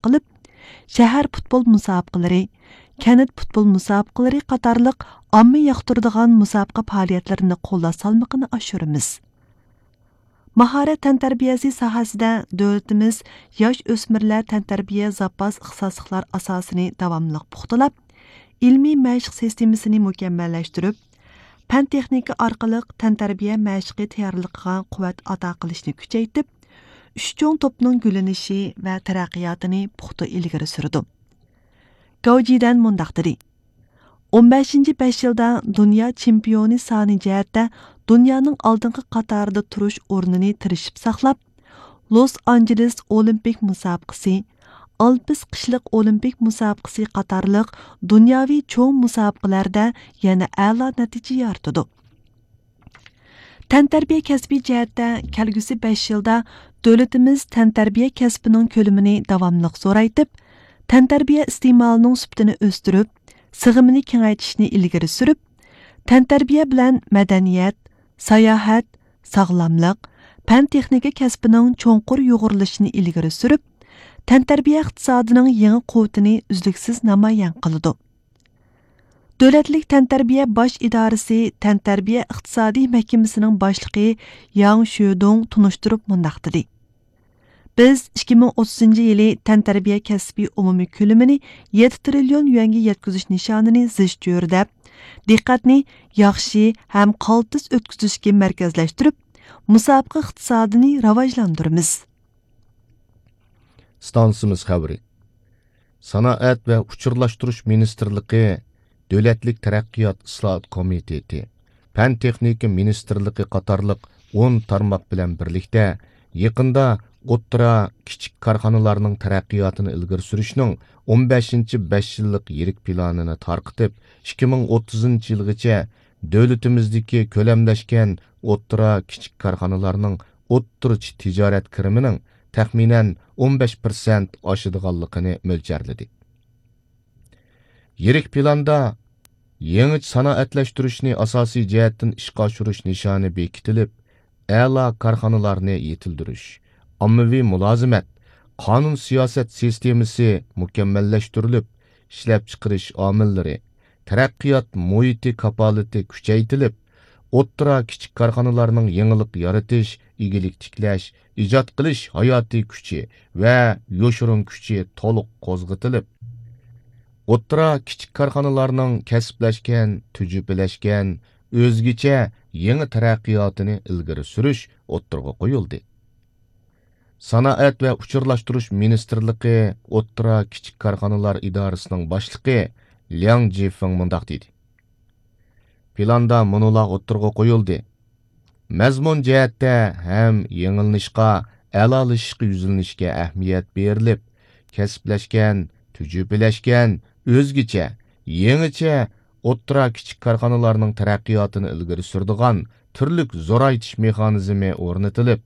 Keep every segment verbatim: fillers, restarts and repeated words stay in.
قىلىپ، شەھەر پۇتبول مۇسابىقىلىرى، كەنت پۇتبول مۇسابىقىلىرى قاتارلىق ئامما ياقتۇرىدىغان مۇسابىقە پائالىيەتلىرىنى قوللاش سالمىقىنى ئاشۇرىمىز. ماھارەت تەنتەربىيەسى ساھەسىدە دۆلىتىمىز ياش ئۆسمۈرلەر تەنتەربىيە زاپاس ئىختىساسلىقلار ئاساسىنى داۋاملىق پۇختىلاپ، ئىلمىي مەشىق سىستېمىسىنى مۇكەممەللەشتۈرۈپ، پەن تېخنىكا ئارقىلىق تەنتەربىيە مەشىقى تەييارلىقىغا قۇۋۋەت ئاتا قىلىشنى كۈچەيتىپ، ئۈچ چوڭ توپنىڭ گۈللىنىشى ۋە تەرەققىياتىنى پۇختا ئىلگىرى سۈرىدۇ. گاۋ جىدەن مۇنداق دېدى: «ئون بەشىنچى بەش يىلدا دۇنيا چېمپىيونى سانى جەھەتتە دۇنيانىڭ ئالدىنقى قاتارىدا تۇرۇش ئورنىنى تىرىشىپ ساقلاپ، لوس ئانژېلېس ئولىمپىك مۇسابىقىسى، ئالپس قىشلىق ئولىمپىك مۇسابىقىسى قاتارلىق دۇنياۋى چوڭ مۇسابىقىلەردە يەنە ئەلا نەتىجە يارىتىدۇ.» تەنتەربىيە كەسپى جەھەتتە كەلگۈسى بەش يىلدا دۆلىتىمىز تەنتەربىيە كەسپىنىڭ كۆلىمىنى داۋاملىق زورايتىپ، تەنتەربىيە ئىستېمالىنىڭ سۈپىتىنى ئۆستۈرۈپ، سىغىمىنى كېڭەيتىشنى ئىلگىرى سۈرۈپ، تەنتەربىيە بىلەن مەدەنىيەت، ساياھەت، ساغلاملىق، پەن تېخنىكا كەسپىنىڭ چوڭقۇر يۇغۇرۇلۇشىنى ئىلگىرى سۈرۈپ، تەنتەربىيە ئىقتىسادىنىڭ يېڭى قۇۋۋىتىنى ئۈزلۈكسىز نامايان قىلىدۇ. دۆلەتلىك تەنتەربىيە باش ئىدارىسى تەنتەربىيە ئىقتىسادىي مەھكىمىسىنىڭ باشلىقى ياڭ شۆدۇڭ تونۇشتۇرۇپ مۇنداق دېدى: «بىز ئىككى مىڭ ئوتتۇزىنچى يىلى تەنتەربىيە كەسپىي ئومۇمىي كۆلىمىنى يەتتە تىرىليون يۈەنگە يەتكۈزۈش نىشانىنى زىچ چۆرىدەپ، دىققەتنى ياخشى ھەم قالتىس ئۆتكۈزۈشكە مەركەزلەشتۈرۈپ، مۇسابىقە ئىقتىسادىنى راۋاجلاندۇرىمىز.» ئىستانسىمىز خەۋىرى. سانائەت ۋە ئۇچۇرلاشتۇرۇش مىنىستىرلىقى، دۆلەتلىك تەرەققىيات ئىسلاھات كومىتېتى، پەن تېخنىكا مىنىستىرلىقى قاتارلىق ئون تارماق بىلەن بىرلىكتە يېقىندا ئوتتۇرا، كىچىك كارخانىلارنىڭ تەرەققىياتىنى ئىلگىرى سۈرۈشنىڭ ئون بەشىنچى بەش يىللىق يىرىك پىلانىنى تارقىتىپ، ئىككى مىڭ ئوتتۇزىنچى يىلغىچە دۆلىتىمىزدىكى كۆلەملەشكەن ئوتتۇرا، كىچىك كارخانىلارنىڭ ئوتتۇرىچە تىجارەت كىرىمىنىڭ تەخمىنەن ئون بەش پىرسەنت ئاشىدىغانلىقىنى مۆلچەرلىدى. يىرىك پىلاندا يېڭىچە سانائەتلەشتۈرۈشنى ئاساسىي جەھەتتىن ئىشقا ئاشۇرۇش نىشانى بېكىتىلىپ، ئەلا كارخانىلارنى يېتىلدۈرۈش، ئاممىۋى مۇلازىمەت، قانۇن سىياسەت سىستېمىسى مۇكەممەللەشتۈرۈلۈپ، ئىشلەپچىقىرىش ئامىللىرى، تەرەققىيات مۇھىتى كاپالىتى كۈچەيتىلىپ، ئوتتۇرا، كىچىك كارخانىلارنىڭ يېڭىلىق يارىتىش، ئىگىلىك تىكلەش، ئىجاد قىلىش ھاياتىي كۈچى ۋە يوشۇرۇن كۈچى تولۇق قوزغىتىلىپ، ئوتتۇرا، كىچىك كارخانىلارنىڭ كەسىپلەشكەن، تۈجۈپىلەشكەن، ئۆزگىچە يېڭى تەرەققىياتىنى ئىلگىرى سۈرۈش ئوتتۇرىغا قويۇلدى. سانائەت ۋە ئۇچۇرلاشتۇرۇش مىنىستىرلىقى ئوتتۇرا، كىچىك كارخانىلار ئىدارىسىنىڭ باشلىقى لياڭ جىفېڭ مۇنداق دېدى: پىلاندا مۇنۇلار ئوتتۇرىغا قويۇلدى. مەزمۇن جەھەتتە ھەم يېڭىلىنىشقا، ئەلالىشىشقا يۈزلىنىشكە ئەھمىيەت بېرىلىپ، كەسىپلەشكەن، تۈجۈپىلەشكەن، ئۆزگىچە، يېڭىچە ئوتتۇرا، كىچىك كارخانىلارنىڭ تەرەققىياتىنى ئىلگىرى سۈرىدىغان تۈرلۈك زورايتىش مېخانىزمى ئورنىتىلىپ،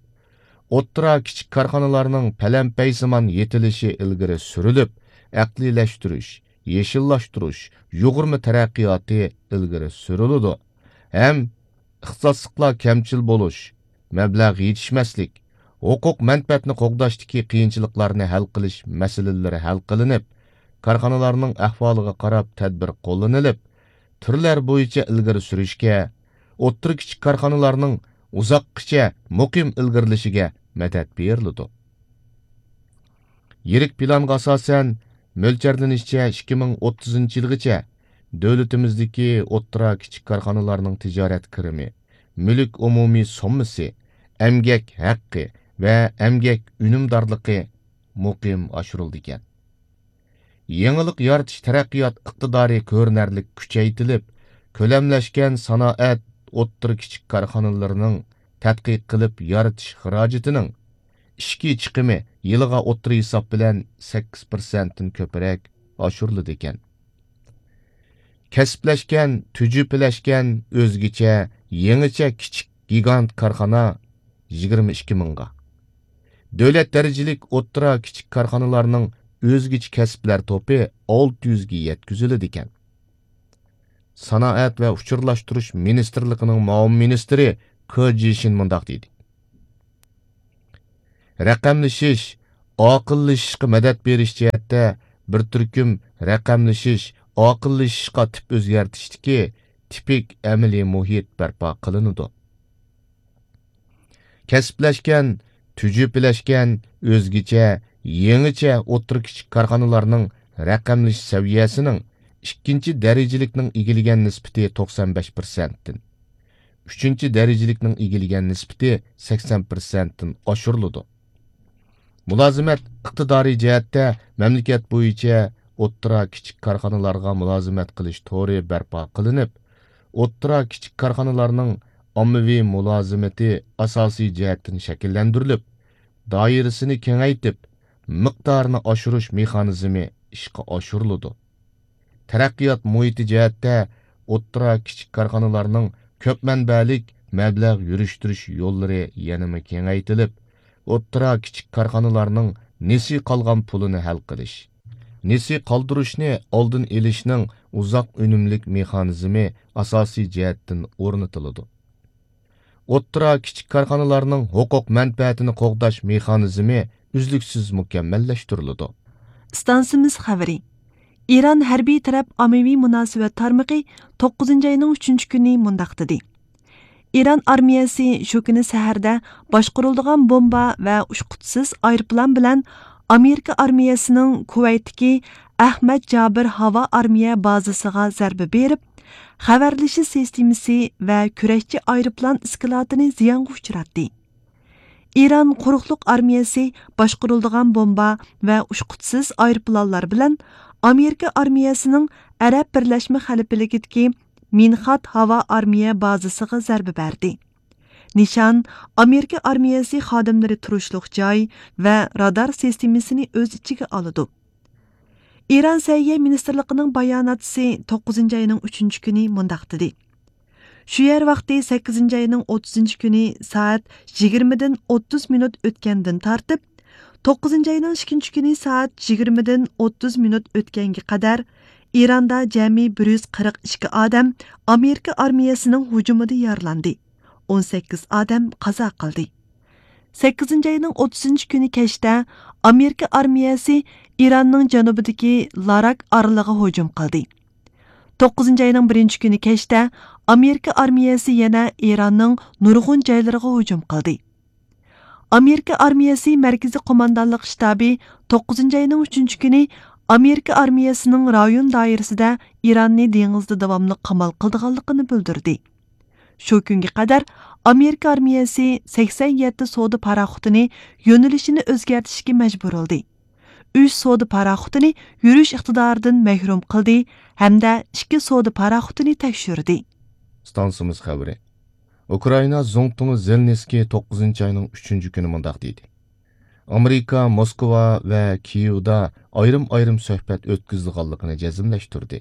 ئوتتۇرا، كىچىك كارخانىلارنىڭ پەلەمپەيسىمان يېتىلىشى ئىلگىرى سۈرۈلۈپ، ئەقلىيلەشتۈرۈش، يېشىللاشتۇرۇش، يۇغۇرما تەرەققىياتى ئىلگىرى سۈرۈلىدۇ ھەم ئىختىساسلىقلار كەمچىل بولۇش، مەبلەغ يېتىشمەسلىك، ھوقۇق مەنپەئەتنى قوغداشتىكى قىيىنچىلىقلارنى ھەل قىلىش مەسىلىلىرى ھەل قىلىنىپ، كارخانىلارنىڭ ئەھۋالىغا قاراپ تەدبىر قوللىنىلىپ، تۈرلەر بويىچە ئىلگىرى سۈرۈشكە، ئوتتۇرا، كىچىك كارخانىلارنىڭ ئۇزاققىچە مۇقىم ئىلگىرىلىشىگە مەدەت بېرىلىدۇ. يىرىك پىلانغا ئاساسەن، مۆلچەرلىنىشىچە، ئىككى مىڭ ئوتتۇزىنچى يىلغىچە دۆلىتىمىزدىكى ئوتتۇرا، كىچىك كارخانىلارنىڭ تىجارەت كىرىمى، مۈلۈك ئومۇمىي سوممىسى، ئەمگەك ھەققى ۋە ئەمگەك ئۈنۈمدارلىقى مۇقىم ئاشۇرۇلىدىكەن. يېڭىلىق يارىتىش تەرەققىيات ئىقتىدارى كۆرۈنەرلىك كۈچەيتىلىپ، كۆلەملەشكەن سانائەت ئوتتۇرا، كىچىك كارخانىلىرىنىڭ تەتقىق قىلىپ يارىتىش خىراجىتىنىڭ ئىچكى چىقىمى يىلىغا ئوتتۇرا ھېساب بىلەن سەككىز پىرسەنتتىن كۆپرەك ئاشۇرۇلىدىكەن. كەسىپلەشكەن، تۈجۈپىلەشكەن، ئۆزگىچە، يېڭىچە كىچىك گىگانت كارخانا يىگىرمە ئىككى مىڭغا، دۆلەت دەرىجىلىك ئوتتۇرا، كىچىك كارخانىلارنىڭ ئۆزگىچە كەسىپلەر توپى ئالتە يۈزگە يەتكۈزۈلىدىكەن. سانائەت ۋە ئۇچۇرلاشتۇرۇش مىنىستىرلىقىنىڭ مۇئاۋىن مىنىستىرى كې جىشىن مۇنداق دېدى: رەقەملىشىش، ئاقىللىشىشقا مەدەت بېرىش جەھەتتە بىر تۈركۈم رەقەملىشىش، ئاقىللىشىشقا تىپ ئۆزگەرتىشتىكى تىپىك ئەمەلىي مۇھىت بەرپا قىلىنىدۇ. كەسىپلەشكەن، تۈجۈپىلەشكەن، ئۆزگىچە، يېڭىچە ئوتتۇرا، كىچىك كارخانىلارنىڭ رەقەملىشىش سەۋىيەسىنىڭ ئىككىنچى دەرىجىلىكنىڭ ئىگىلىگەن نىسبىتى توقسان بەش پىرسەنتتىن، ئۈچىنچى دەرىجىلىكنىڭ ئىگىلىگەن نىسبىتى سەكسەن پىرسەنتتىن ئاشۇرۇلىدۇ. مۇلازىمەت ئىقتىدارى جەھەتتە مەملىكەت بويىچە ئوتتۇرا، كىچىك كارخانىلارغا مۇلازىمەت قىلىش تورى بەرپا قىلىنىپ، ئوتتۇرا، كىچىك كارخانىلارنىڭ ئاممىۋى مۇلازىمىتى ئاساسىي جەھەتتىن شەكىللەندۈرۈلۈپ، دائىرىسىنى كېڭەيتىپ، مىقدارىنى ئاشۇرۇش مېخانىزمى ئىشقا ئاشۇرۇلىدۇ. تەرەققىيات مۇھىتى جەھەتتە ئوتتۇرا، كىچىك كارخانىلارنىڭ كۆپ مەنبەلىك مەبلەغ يۈرۈشتۈرۈش يوللىرى يەنىمۇ كېڭەيتىلىپ، ئوتتۇرا، كىچىك كارخانىلارنىڭ نېسى قالغان پۇلىنى ھەل قىلىش، نېسى قالدۇرۇشنى ئالدىن ئېلىشنىڭ ئۇزاق ئۈنۈملۈك مېخانىزمى ئاساسىي جەھەتتىن ئورنىتىلىدۇ. ئوتتۇرا، كىچىك كارخانىلارنىڭ ھوقۇق مەنپەئەتىنى قوغداش مېخانىزمى ئۈزلۈكسىز مۇكەممەللەشتۈرۈلىدۇ. ئىستانسىمىز خەۋىرى. ئىران ھەربىي تەرەپ ئاممىۋى مۇناسىۋەت تارمىقى توققۇزىنچى ئاينىڭ ئۈچىنچى كۈنى مۇنداق دېدى: ئىران ئارمىيەسى شۇ كۈنى سەھەردە باشقۇرۇلىدىغان بومبا ۋە ئۇچقۇچىسىز ئايروپىلان بىلەن ئامېرىكا ئارمىيەسىنىڭ كۇۋەيتتىكى ئەھمەد جابىر ھاۋا ئارمىيە بازىسىغا زەربە بېرىپ، خەۋەرلىشىش سىستېمىسى ۋە كۈرەشچى ئايروپىلان ئىسكىلاتىنى زىيانغا ئۇچراتتى. ئىران قۇرۇقلۇق ئارمىيەسى باشقۇرۇلىدىغان بومبا ۋە ئۇچقۇچىسىز ئايروپىلانلار بىلەن ئامېرىكا ئارمىيەسىنىڭ ئەرەب بىرلەشمە خەلىپىلىكىدىكى مىنخات ھاۋا ئارمىيە بازىسىغا زەربە بەردى. نىشان ئامېرىكا ئارمىيەسى خادىملىرى تۇرۇشلۇق جاي ۋە رادار سىستېمىسىنى ئۆز ئىچىگە ئالىدۇ. ئىران سەھىيە مىنىستىرلىقىنىڭ باياناتچىسى توققۇزىنچى ئاينىڭ ئۈچىنچى كۈنى مۇنداق دېدى: شۇ يەر ۋاقتى سەككىزىنچى ئاينىڭ ئوتتۇزىنچى كۈنى سائەت يىگىرمىدىن ئوتتۇز مىنۇت ئۆتكەندىن تارتىپ، توققۇزىنچى ئاينىڭ ئىككىنچى كۈنى سائەت يىگىرمىدىن ئوتتۇز مىنۇت ئۆتكەنگە قەدەر ئىراندا جەمئىي بىر يۈز قىرىق ئىككى ئادەم ئامېرىكا ئارمىيەسىنىڭ ھۇجۇمىدا يارىلاندى، ئون سەككىز ئادەم قازا قىلدى. سەككىزىنچى ئاينىڭ ئوتتۇزىنچى كۈنى كەچتە ئامېرىكا ئارمىيەسى ئىراننىڭ جەنۇبىدىكى لاراك ئارىلىغا ھۇجۇم قىلدى. توققۇزىنچى ئاينىڭ بىرىنچى كۈنى كەچتە ئامېرىكا ئارمىيەسى يەنە ئىراننىڭ نۇرغۇن جايلىرىغا ھۇجۇم قىلدى. ئامېرىكا ئارمىيەسى مەركىزىي قوماندانلىق شتابى توققۇزىنچى ئاينىڭ ئۈچىنچى كۈنى ئامېرىكا ئارمىيەسىنىڭ رايون دائىرىسىدە ئىراننى دېڭىزدا داۋاملىق قامال قىلىدىغانلىقىنى بىلدۈردى. شۇ كۈنگە قەدەر ئامېرىكا ئارمىيەسى سەكسەن يەتتە سودا پاراخوتىنى يۆنىلىشىنى ئۆزگەرتىشكە مەجبۇر بولدى. ئۈچ سودا پاراخوتىنى يۈرۈش ئىقتىدارىدىن مەھرۇم قىلدى ھەمدە ئىككى سودا پاراخوتىنى تەكشۈردى. ئىستانسىمىز خەۋىرى. ئۇكرائىنا زۇڭتۇڭى زېلېنسكىي توققۇزىنچى ئاينىڭ ئۈچىنچى كۈنى مۇنداق دېدى: ئامېرىكا موسكۋا ۋە كىيېۋدا ئايرىم-ئايرىم سۆھبەت ئۆتكۈزىدىغانلىقىنى جەزملەشتۈردى.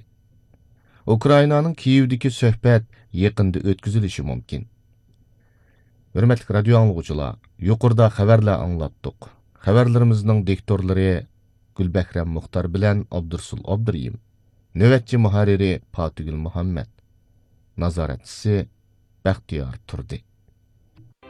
ئۇكرائىنانىڭ كىيېۋدىكى سۆھبەت يېقىندا ئۆتكۈزۈلۈشى مۇمكىن. ھۆرمەتلىك رادىيو ئاڭلىغۇچىلار، يۇقىرىدا خەۋەرلەر ئاڭلاتتۇق. خەۋەرلىرىمىزنىڭ دىكتورلىرى گۈلبەھرەم مۇختار بىلەن ئابدۇرۇسۇل ئابدۇرېھىم. نۆۋەتچى مۇھەررىرى پاتىگۈل مۇھەممەت. نازارەتچىسى بەختىيار تۇردى.